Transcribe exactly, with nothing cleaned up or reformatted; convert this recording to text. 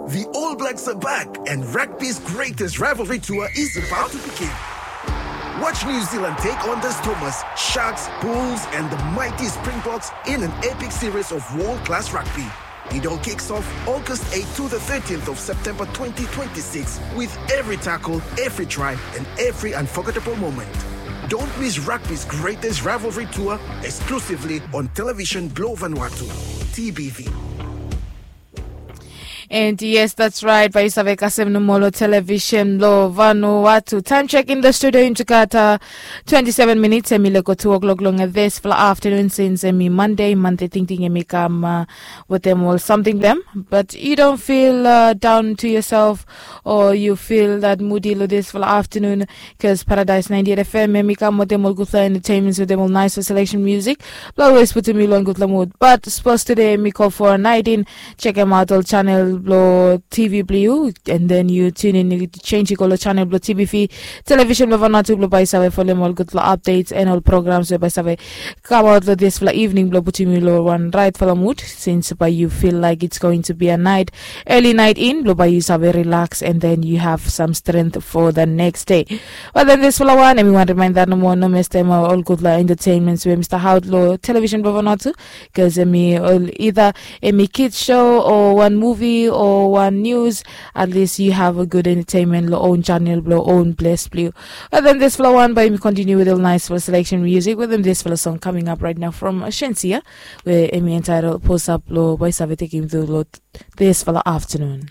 The All Blacks are back, and rugby's greatest rivalry tour is about to begin. Watch New Zealand take on the Stormers, Sharks, Bulls, and the mighty Springboks in an epic series of world class rugby. It all kicks off August eighth to the thirteenth of September twenty twenty-six, with every tackle, every try, and every unforgettable moment. Don't miss rugby's greatest rivalry tour, exclusively on Television Blue Vanuatu, T B V. And yes, that's right, bae yu save kasem nomo lo Television Blue Vanuatu. Time check in the studio in Jakarta, twenty-seven minutes, hemi lego two o'clock long this fala afternoon, since hemi Monday, Monday tingting hemi kam uh, wetem ol samting blong hem. But you don't feel uh, down to yourself, or you feel that moody lo this fala afternoon, because Paradise ninety-eight F M hemi kam wetem ol gudfala entertainments, wetem ol nice selection music blong always putum yu long gudfala mood. But suppose today hemi call for a night in, check hemaot ol channel blong T V blong yu, and then yu tune in, yu change yu go lo channel blong T B V, Television blong Vanuatu, blong bae yu save folem ol gudfala updates and ol programs we bae save kamaot lo this fala evening, blong putum yu lo wan right fala mood, since bae yu feel like it's going to be a night, early night in, blong bae yu save relax and then you have some strength for the next day. But then this fala wan, hemi wan reminder nomo, no mestem uh, ol gudfala entertainments we hemi stap aot lo Television blong Vanuatu, because hemi ol either hemi kids show or wan movie or wan news, at least you have a good entertainment lo own channel blong own place blong yu. But then this fala wan, bae mi continue with a nice fala selection music, with this fala song coming up right now from Shenseea, we hemi entitled Posa, blong bae yu save tekem through lo this fala afternoon.